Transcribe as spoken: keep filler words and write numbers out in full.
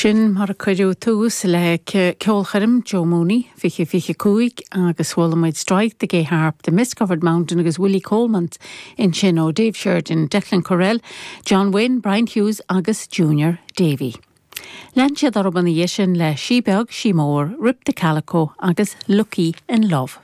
Sin mar a cuireadh tús le ceolchoirm Joe Mooney fiche fiche cúig agus chuala muid Strike the Gay Harp, the Mist-Covered Mountain agus Willie Coleman ansin ó Dave Sheridan, Declan Correll, John Wynne, Brian Hughes agus Junior Davy. Lean siad orthu ina dhiaidh sin le Sí Beag Sí Mór, Rip the Calico agus Lucky in Love.